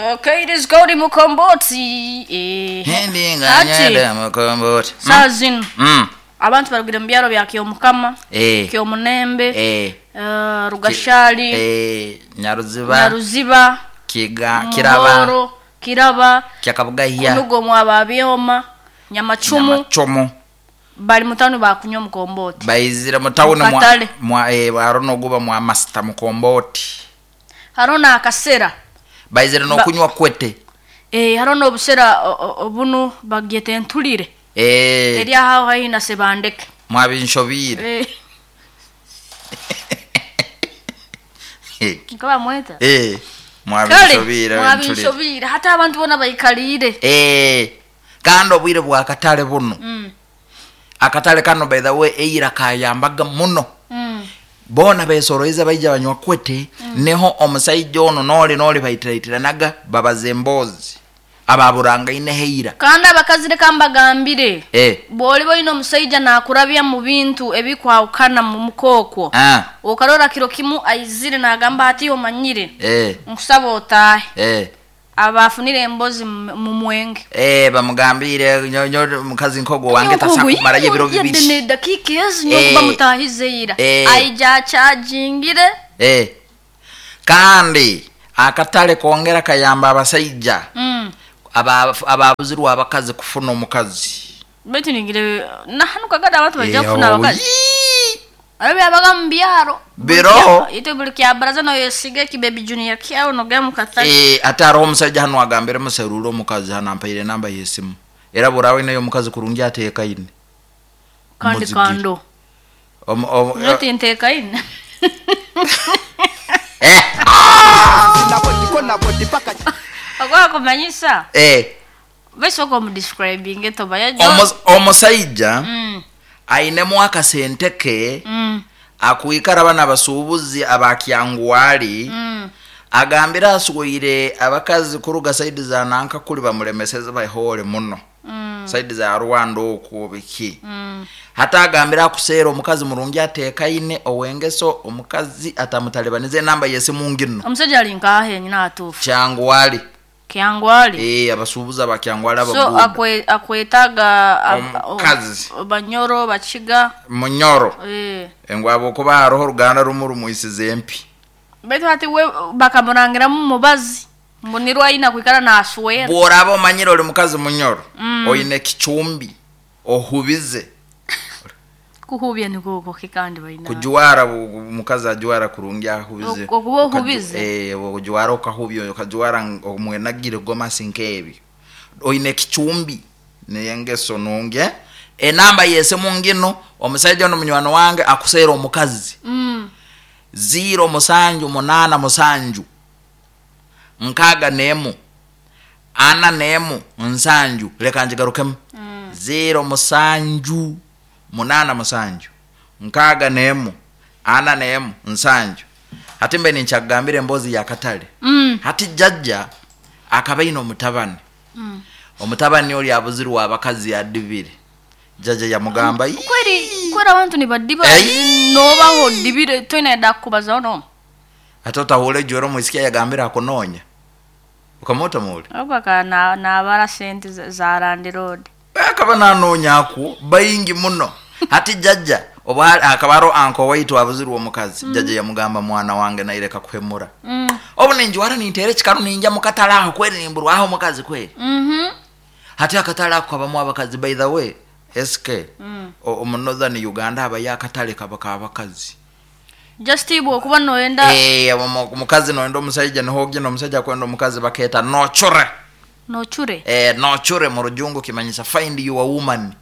Okay, it is called mukomboti. Eh. Hindi nga Hati, nyenda mukomboti. saa zino Mm. abantu barugire mu byaro bya Kyomukama, Eh. Kyomunembe, Eh. eh, Rugashali, Eh, Nyaruziba, Nyaruziba, Kiga, Kiraba, Muhoro, Kiraba, Kyakabugahya, Kunugo mwa Byoma, Nyamacumu, Nyamacumu. bali mutano bakunywa mukomboti. Baizire mu town mwa Mukatale. mwa eh barono guba mwa master mukomboti. Hariho n'akasera. Baizire Ba- nokunywa kwete. Eh, hariho n'obusera obunu bagyeta entulire. Eh, Eri aho haihi na Sebandeke. mwabinshobire. Eh, nko bamweta. Eh, Kale, mwabinshobire. entulire. mwabinshobire hati abantu bona baikaliire. Eh, kandi obwire bwa katale buno. Mm. Akatale kano by the way eira kayambaga muno. Bona besoroize baija banywa kwete. Niho omusaija ono noli noli baitiraitiranaga babaza emboozi ababurangaine heira. Kandi abakazi reka mbagambire. Eh. Bw'oliba oyine omusaija naakurabya mu bintu ebikwahukana mu mukookwo. Ah. Okarora kiro kimu aizire naagamba ati omanyire. Eh. Nkusaba otaahe. Eh. Abafunire embozi mu mwenge. Eh, bamugambire nyo nyo mukazi nkogo wange tasakumara ebiro bibiri. Ne dakika ezi Eh. nyokuba mutahize ira. Eh. Aija achajingire. Eh. Kandi akatale kongera kayamba abasaija ababuzirwa abakazi kufuna omukazi. Baitu ningire nahanu kagada abantu bajja Eh, kufuna abakazi. yii. Arabe abaga mu byaro. Biro. Ite buli kya baraza no yesiga ki baby junior kyawo no gamu katale. Eh, ate hariho omusajja hano agambire muserura omukazi hano ampaire enamba y'esimu. Era burawe nayo omukazi kurungi ateekaine. Kandi Muzigire. kando. Omu Noti ntekaine. Eh. Agwa kumanyisa. Eh. Besoko mu describing etoba ya Omusaija ainemu akasente ke akwikara bana abasuubuzi abakyangwali. Agambira aswire abakazi kuruga saidi za nanka kuli bamulemeseze bahole muno. Saidi za Rwanda okwo biki. Hata agambira akuseera omukazi murungi ateekaine owengeso omukazi atamutalibanize enamba y'esimu ngino. Omusajja ali nkahe nyina atufu. Kyangwali. Kyangwali. Eh, abasuubuzi abakyangwali So abaguda. akwetaga Omukazi. Banyoro bakiga. Munyoro. Eh. Engwabo okuba hariho oruganda rumu rumwisize empi. Baitu hati we bakamurangiramu mubazi. Ngu nirwo ayina kwikara naswera. Bw'oraba omanyire ori mukazi munyoro, oine kicumbi, ohubize. Kuhubya niko kandi baina. Kujwara omukazi ajwara kurungi ahubize. Okuba ohubize. Eh, okujwara okahubya okajwara omwenagire gomasi nk'ebyo. Oine kicumbi n'engeso nungi. Enamba y'esimu ngino omusajja ono munywani wange akuseera omukazi. 0787 61 47 leka njigarukemu. 07 87 61 47 hati mbe ninkyakugambira emboozi ya katale. Hati jjajja akaba aine omutabani. Omutabani oli abuzirwa abakazi adibire. Jjajja yamugamba, Kweri kweri abantu nibadiba Ei! nobaho dibire toina da kubazaho no. Ate otahura ejwero omwisiki yagambira akunoonya. Ukamuta muli. Obaka na nabara sente za landlord. Akaba nanoonya akwo baingi muno. Hati jjajja oba akaba hariho anko waitu abuzirwa omukazi. Jjajja yamugamba mwana wange naireka kuhemura. Obu ninjwara ninteera ekikaru ninja mukatale aho kweri nimburwaho omukazi kweri. Hati akatale ako kabamu abakazi by the way SK. Omu Northern Uganda habayo akatale kaba k'abakazi. Just ibwo okuba noyenda Eh, omukazi noyenda omusaija niho ogenda omusaija akwenda omukazi bakeeta nocure. Nocure. Eh, nocure mu rujungu kimanyisa find your woman.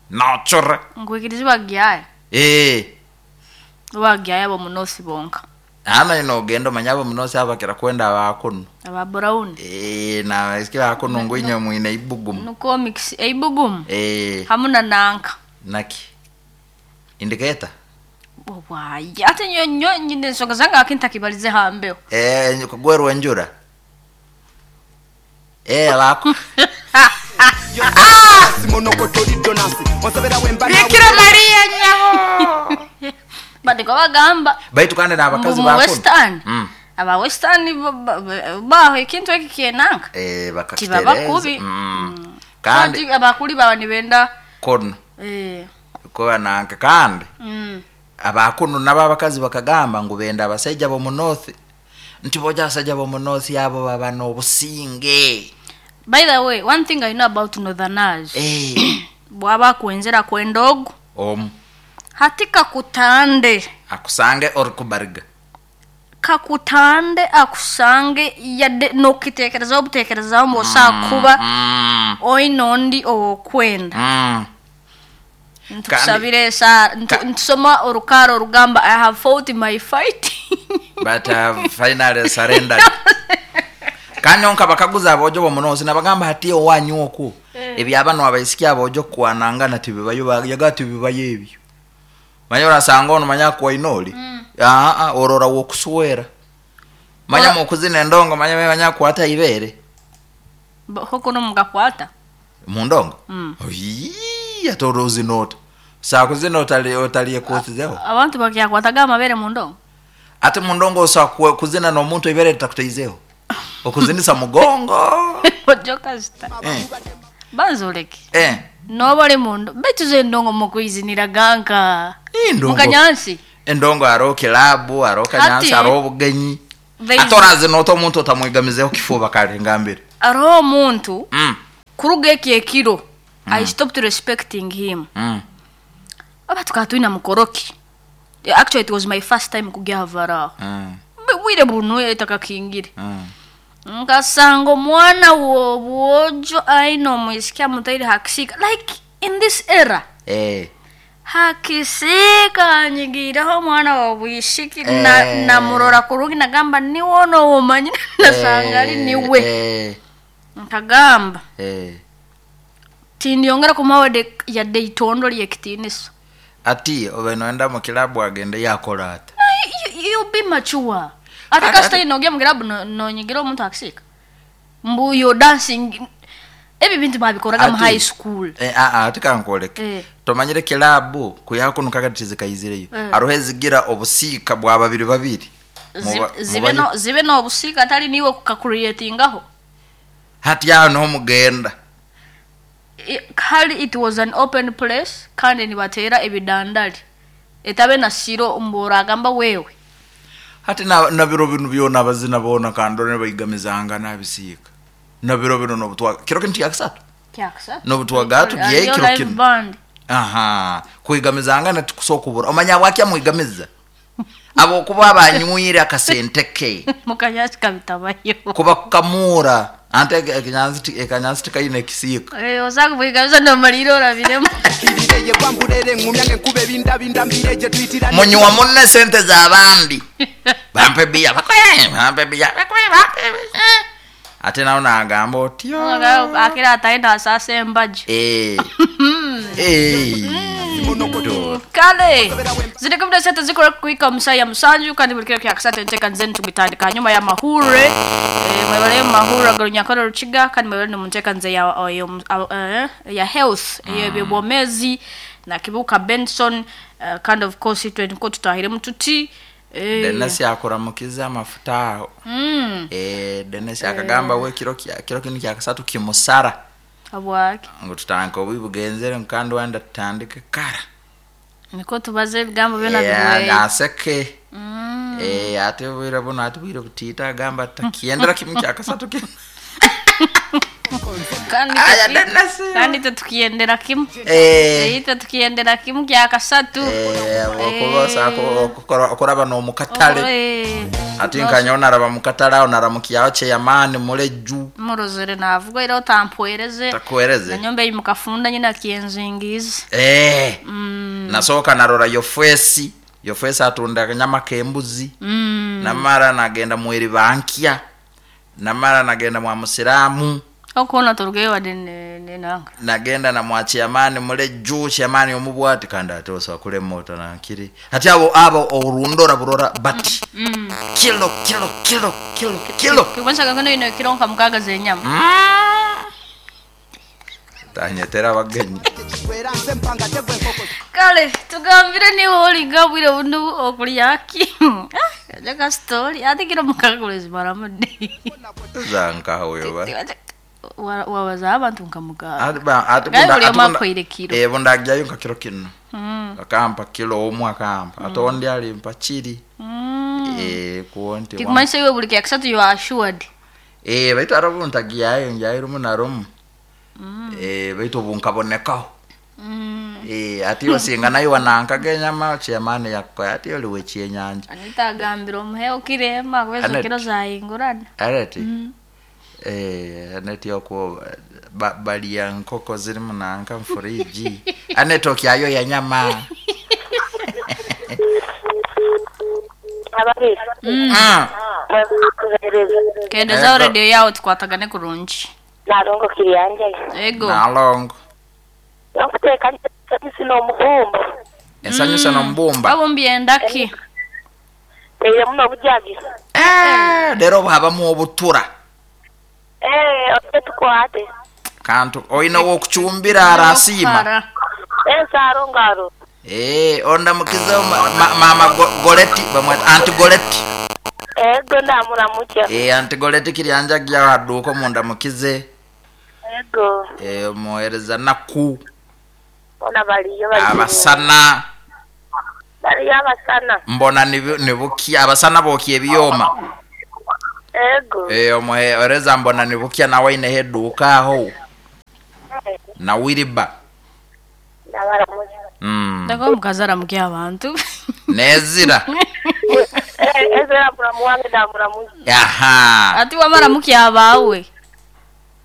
Nocure. Nkwikiriza bagyaye. Eh. Bagyaye abo munosi bonka. Ana ino ogenda omanya abo munosi abakira kwenda abakuno. Aba brown. Eh, na esike bakuno ngwinye mwine ibugumu. Nuko mix eibugumu. Eh. Hamuna nanka. Naki. Indicator. Obwayi. Ate nyo nyo nyine ensonga zange akintakibalize hambeo. Eh, kugwerwa enjura. Eh, abako. Bikira Maria nyabo. Badiko bagamba Baitu kandi n'abakazi mbu mu bakuno. Western. Aba western baho ekintu eki kyenanka. Eh, Tibaba bakakitereeza. kubi. Kandi Kandi abakuri baba nibenda kono eh kuba nanka kandi abakunu nabo abakazi bakagamba ngu benda abasaija b'omu north nti boja abasaija b'omu north abo baba n'obusinge. By the way, one thing I know about northerners. Eh, Bwaba akwenzera kwenda ogu omu hati kakutande akusange orikubariga kakutande akusange yadde nokitekerezaho obutekerezaho mbu osobola kuba oine ondi owokwenda. Ntukusabira esaara ntusoma orukaara orugamba I have fought my fight. But I have finally surrendered. Kandi nka bakaguza abojo bomunosi nabagamba hati owanyu oku ebyabano abaisiki abojo kwanangana tibibayo yaga tibibayo ebyo manya orasanga ono manya kwainoli aa orora wokuswera manya mukuzina endongo manya manya kwata ibere. Hoko no mugakwata mundongo. Oyi atoro uzinota sakuzina otali otaliye kosizeho abantu bakyakwataga amabere mundongo ate mundongo osa kuzina n'omuntu ibere litakutaizeho okuzinisa mugongo. Ojoka zita. Eh. Banza oleke. Eh. Noba ori mundo baitu zo endongo mukwizinira ganka Endongo. mukanyansi. Endongo hariho kilabu hariho kanyansi Hati- hariho obugenyi. There is- Ate orazinota omuntu otamwigamizeho kifuba kale ngambire. Hariho omuntu kuruga eki ekiro I stopped respecting him. Oba tukaba twine mukoroki. Actually it was my first time kugya Havara. Bwire bunu etakakingire. Nkasanga omwana w'obwojo aine omwisiki amutaire hakisiika like in this era. Eh. Hakisiika anyigiireho omwana w'obwishiki na Eh. namurora kurungi nagamba niwe ono owomanyire nasanga ari niwe. Eh. Nkagamba Eh. tindyongera kumuha yadde itondo ly'ekitiinisa. Ati obe noenda mu kilabu agende yakola ata. You be mature. Ate kasita inogya mu kilabu nonyigira omuntu akisiika. Mbu yo dancing ebi bintu babikoraga mu Ati- high school. Eh, ah, ah, tikankwoleke. Eh. Tomanyire kilabu kuyakuno kakati tizikaizireyo. Eh. Hariho ezigira obusiika bwa babiri babiri. Zibe no zibe n'obusiika atari niwe kukakureatingaho. Hati aho niho mugenda. Kali it was an open place kandi nibateera ebidandali. Etabe na siro mbu oragamba wewe. Hati na biro bino byona abazina boona kandi ne baigamizanga n'abisiika. Na biro bino n'obutwa kiro kinu kyakisatu. Kyakisatu. N'obutwaga tugiye Ariyo kiro live kinu. band. Aha, kwigamizanga natikusoka omanya bwaki amwigamiza abo kuba abanywire akasente ke Mukanyasi kabitabayo. kuba kukamura ante ekanyansi tikaine ekisiika. Eh, osanga bwigamiza nomalira orabiremu. Mbireye kwambulere ngumya ngenkuba ebindabinda mbireje tuyitira Munywa munne sente z'abandi bampe biya bakwe bampe biya bakwe bampe biya. Ate nawo nagamba otyo Akira ataenda asase embaji. Eh. Eh. Kale ziri 16 zikora kuika musaya musanju kandi buli kiro kyakisatu enteeka nze nitugitandika hanyuma ya mahure mwebale mahure agarunyakora rukiga kandi mwebale nomunteeka nze ya health ey'ebyobwomezi na Kibuka Benson kandi of course itwe niko tutahiremu tuti Dennis yakuramukiza amafuta aho. Dennis akagamba we kiro kiro kinu kyakisatu kimusara habwaki ngu tutandike obubi bugenzere kandi wenda tutandike kara. Niko tubaze ebigambo byona Eh, bigweye. aseke. Ate bwire buno ate bwire butiita agamba takiendera kimu kyakasatu kinu. Kandi Aya, Dennis. kandi itwe tukiendera kimu. Eh. Itwe tukiendera kimu kyakasatu. Okuba okuraba n'omukatale. Eh. Ate nkanyowe naraba mukatale aho naramukiaho chairman muleju. Murozere navuga era otampwereze. Takuhereze. Nanyombe mukafunda nyina kyenzingiza. Eh. Nasooka narora yofesi. Yofesi atunda akanyama k'embuzi. Namara nagenda mweri bankya. Namara nagenda mwa musiramu. Okubona turugeyo wadde nenanga. Nagenda na mwa chairman muleju chairman omubwati kandi ate osobola kulema otanankiri. Ati abo abo orundora burora bati. Kilo kilo kilo kilo kilo. Kibonsa kono ino kiro nka mukaga z'enyama. Tanyetera abagenyi. Era nze mpanga tegwa enkoko. Kale tugambire niwe olinga bwire bunu okulyaki. Eka story ate kiro mukaaga orizimaramu di? Zankaha oyo ba. Wabazaho abantu nka mukaaga. Ati ba ati Ngaye bunda buri ati omwe bunda akuhaire kiro. eh bunda agyayo nka kiro kinu. Akampa kilo omwe akampa. Ate ondi alimpa kiri. Eh kuwo nti. Kikumanyisa iwe buri kyakisatu you are assured. Eh baitu hariho obu ntagyayo ngyayo rumu na rumu. Eh baitu obu nkabonekaho. Eh ati iwe singa nayo wanankaga enyama chairman yakukoya ati oli w'ekyenyanja. Anita agambire omuhe kiro emwe ahabw'ezo Anet. kiro zahingurana. Arati. Eh Anet okwo ba, balya nkoko zirimu nanka mu fridge. Anet okyayo ya nyama. Ababiri mwekuhereza Kendezaho Ego. radio yawe tukwatagane kurungi. nalongo kiryanjye Ego. Nalongo. nokuteka nsanyusi n'omubumba Ensanyusa n'omubumba. Babumbye endaki. teire muno obujagi Eh, leero habamu obutura. eh ote tukwate Kantu oine w'okucumbira arasiima. Hara. ensaro ngaro Eh, ondamukize ma, ma, mama Goleti bamweta Aunty Goleti. ego ndamuramukya Eh, Aunty Goleti kiryanja gya aduuka mundamukize. ego Eh, muhereza naku bona baliyo baliyo abasana baliyo abasana mbona nibukia abasana bokya ebyoma. ego Eh, omuhereza mbona nibukia nawe aineho eduuka aho na Wilba. ndabaramukya Ndako omukazi aramukya abantu. Nezira. eh ezera muramu wange ndamuramukya Aha. Ati wamaramukia abawe.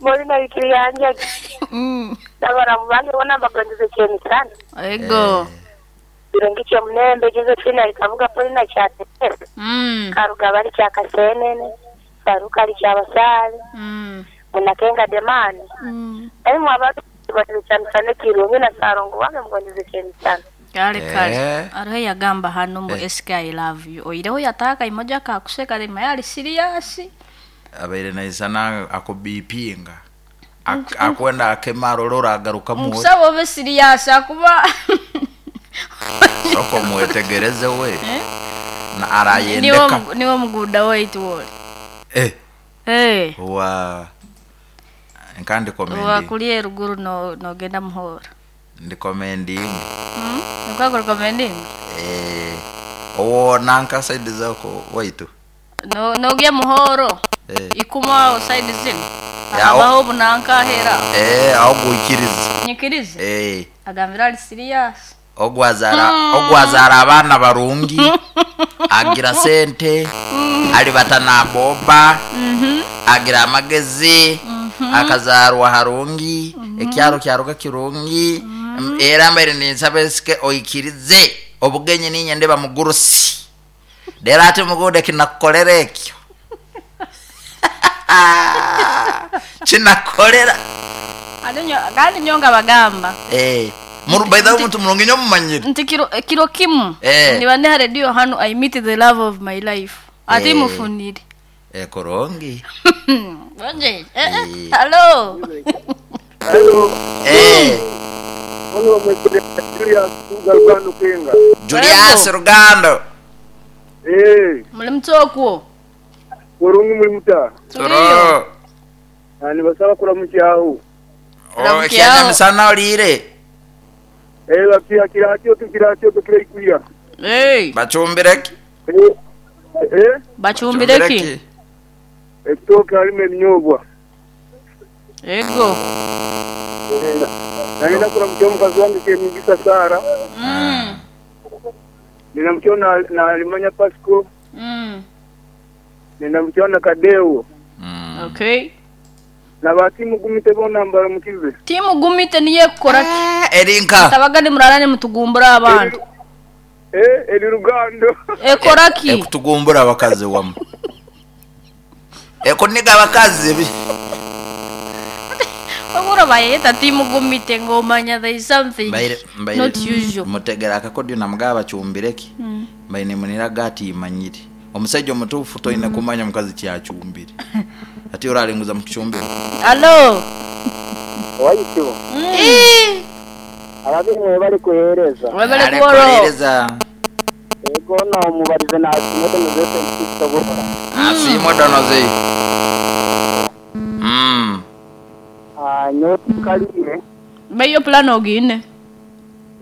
muri na kiryanjye ndabaramu bange bona bagonze kyemisana Ego. birungi kyomunembe Josephine alikavuga polina kyatere Karugaba ali kya Kasenene, Baruka ali kya Basaale, Munakenga Demani. Naye mwe abantu mugondeze kyamisana kirungi na Sarongo wange mugondeze kyemisana. Kale kale. Eh. Ariho yagamba hano mbu Eh. SK I love you. Oireho yataka imoja kakuseka rema yali serious. Abaire naisana akubipinga. Akwenda akemara olora agarukamu. Nkusaba obe serious akuba Soko mwetegereze we. Na niwe arayendeka. niwe muguda waitu wole. Eh, Eh. wa nkandi commending. Wakulie ruguru no nogenda muhora. Ndi commending. Nukwako recommending. Eh, owo nanka side zako waitu. No nogya muhoro. Eh. Ikuma aho side zino. Ya, Abaho bunanka ahera. Eh, ogwikiriza. Nyikirize. Eh, Agambira ali serious. ogwazara ogwazara abaana barungi. Agira sente. Alibata naboba. Agira amagezi. Akazarwa harungi. Ekyaro kyaruka kirungi. Era mbaire ninsaba esike oikirize obugenyi ninye ndeba mugurusi. Dera ati mugude kinakukolera ekyo. Kinakukolera. Alinyo kandi nyonga bagamba. Eh, muru by the way omuntu murungi nyo mumanyire. Nti kiro kiro kimu. Eh. Niba ndi radio hano I meet the love of my life. Ati Eh. mufunire. Eh, korongi. Bonje. Eh, eh. Eh. Hello. Eh, Ono mwekere Julius Rugando Kenga. Julius Rugando. Eh, Muli mutokwo. kurungi muri muta. Tuliyo. Ani basaba kuramukyaho. Oh, Ramukyaho. ekyanyamisana olire. Eh, bakiya kirakyo kirakyo kirikuya. Hey. Bacumbireki. Eh, eh, Bacumbireki. ekitoke harimo ebinyobwa. Ego. Eh, nalina kuramukya omukazi wange Kemugisa Sara. Ninamukyaho na na Limanya Pasco, ninamukyaho na Kadeo. Okay. Na batimu gumite bona mbaramukize. Timu gumite niye kukora ki? Erinka. Tabaga nimurara nimutugumbura abantu. Eh, eri Rugando. Ekora ki? Ekutugumbura abakazi wamu. Ekuniga abakazi. Wabura bayeta timu gumite ngomanya there is something Mbaire mbaire. not usual. Mutegera akakodyo namugaba bacumbireki. Mbaine munira gati imanyire. Omusajja omutuufu toine kumanya mukazi kyacumbire. Ati oralinguza mu kicumbiro. Hello. Waityo. Ababiri bali kuhereza. Webale kuworo. Alekuhereza. Ego. Hoona omubarize nasiima Donozi FM Kitusobora. Asiimwe Donozi. Mm. Nyowe tinkariire. Baiyo pulani ogiine?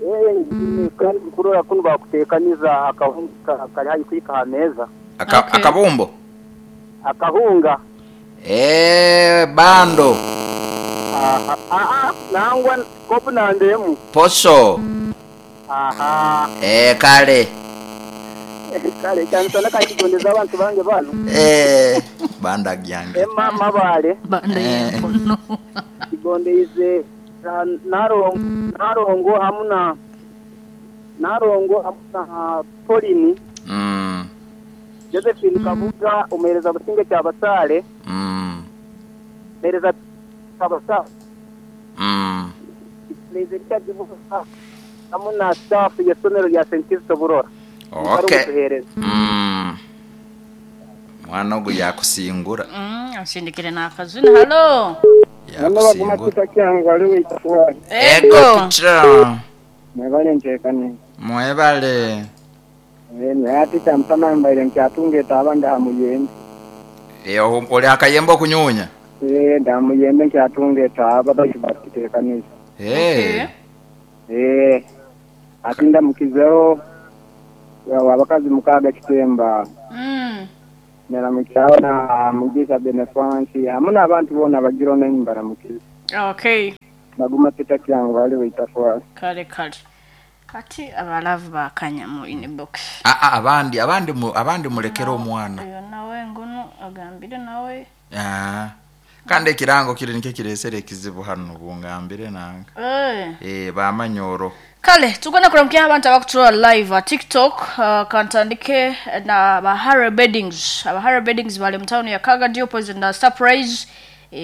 Eeh ngiine kandi ndikurora kunu bakuteekaniza akahunga kari haihi kuhika aha meeza. Aka, Okay. Akabumbo? Akahunga. Eeh bando. Aha, aa nangwa kopu namba emu. Posho. Aha. Eeh kale. Kale kyamisana kankigondeze abantu bange banu. Eeh banda gyange. Emma Mabale. Banda y'empono. Nkigondeize Nalongo hamu na Nalongo hamu na Pauline. Josephine Kabuga omuheereza Businge Kyabasaale. Muheereza Kyabasaale. Nkigoneize Richard Busa hamu na staff y'eisomero rya St Kizito Burora. Okay. Mwana ogu yakusingura. Ansindikire n'akazina. Halo. Yakusingura. Ego. Ego teacher. Mwebale nteekaniza. Mwebale. Naye ati kyamusana mbaire nkyatunga etaaba ndi aha muyembe. Eh, oli aha kayembe okunyuunya? Eeh ndi aha muyembe nkyatunga etaaba baitu bakiteekaniza. Eeh. Eeh ati ndamukizeho abakazi mukaaga kitemba. Naramukireho na Mugisha Benefansi hamu n'abantu boona abagira onu nimbaramukiza. Okay. Baguma Peter Kyangwali wa Itafwali. Kale kale. Kati aba love bakanya mu inbox. Aa abandi abandi abandi mulekere omwana. Oyo nawe ngunu agambire nawe. Aah kandi ekirango kiri nikyo kiresere ekizibu hanu bungambire nanka. Eeh bamanyoro. Kale tugenda kuramukya abantu abakuturora live aha tiktok kantandike na ba Harry Beddings. Aba Harry Beddings bari omu town ya Kagadi opposite na Surprise.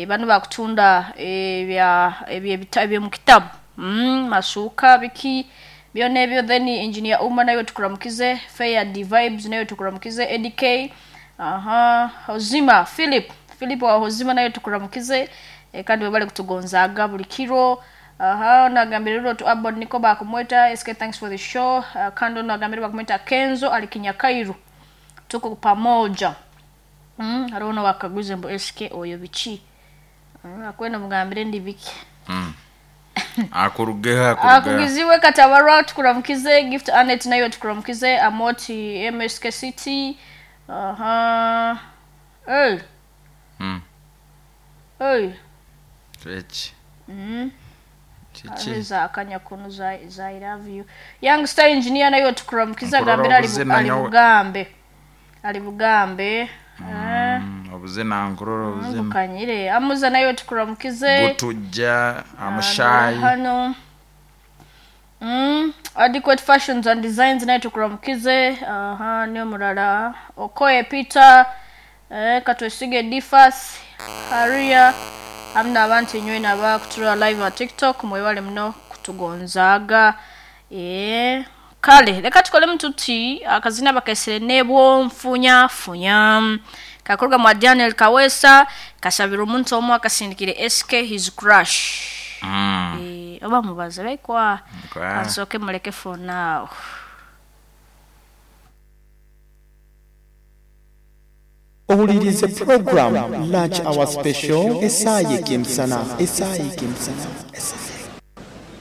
Banu bakutunda ebya ebyomukitabu masuuka biki byona ebyo then Engineer Uma naiwe tukuramukize, Fair D Vibes naiwe tukuramukize, Eddy Kay aha Hozima Philip Philip wa Hozima naiwe tukuramukize kandi webale kutugonzaaga buri kiro. Aha onu agambire rero otu Abon niko bakumweta SK thanks for the show kandi onu agambire bakumweta Kenzo ari Kinyakairu tuko pamoja. Hariho nowakagwize mbu SK oyo biki? Akwenda omugambire ndi biki. Akurugeho akurugeho. Akugizibwe Katabarwa tukuramukize, Gift Annet naiwe tukuramukize, Amoti MSK City. Aha. Hey. Hey. Eki. Kiki? Hariho eza kanyakunu za za I love you. Young Star Engineer naiwe tukuramukize Nkurora agambire ari obuzina ari nyowe. Bugambe. Ari Bugambe. Obuzina nkurora obuzina. Bukanyire. Amuza naiwe tukuramukize. Butujja, Amushayi. Hano. Adequate Fashions and Designs nayo tukuramukize. Aha, niyo murara. Okoye Peter, eh, Katwesige Difas, Haria, hamwe n'abantu inywe n'abakuturora live ha TikTok mwebale muno kutugonzaaga. Eh, kale reka tukolemu tuti akazina bakesere nebwonfunyafunya kakorwa mwa Daniel Kawesa kasabira omuntu omwe akasindikire SK his crush. Eh, oba mubaze baikwa Kwa. kansoke muleke for now. Owulirize puroguramu Lunch Hour Special esaaha y'ekemisana esaaha y'ekemisana esaaha.